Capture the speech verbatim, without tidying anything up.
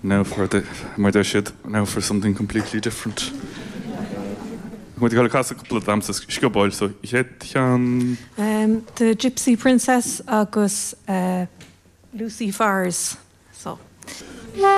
Now for the mar deir siad now for something completely different. Muid ag casadh cúpla damhsa sciobóil so chéad cheann Um, the Gypsy Princess agus uh, Lucy Fars so.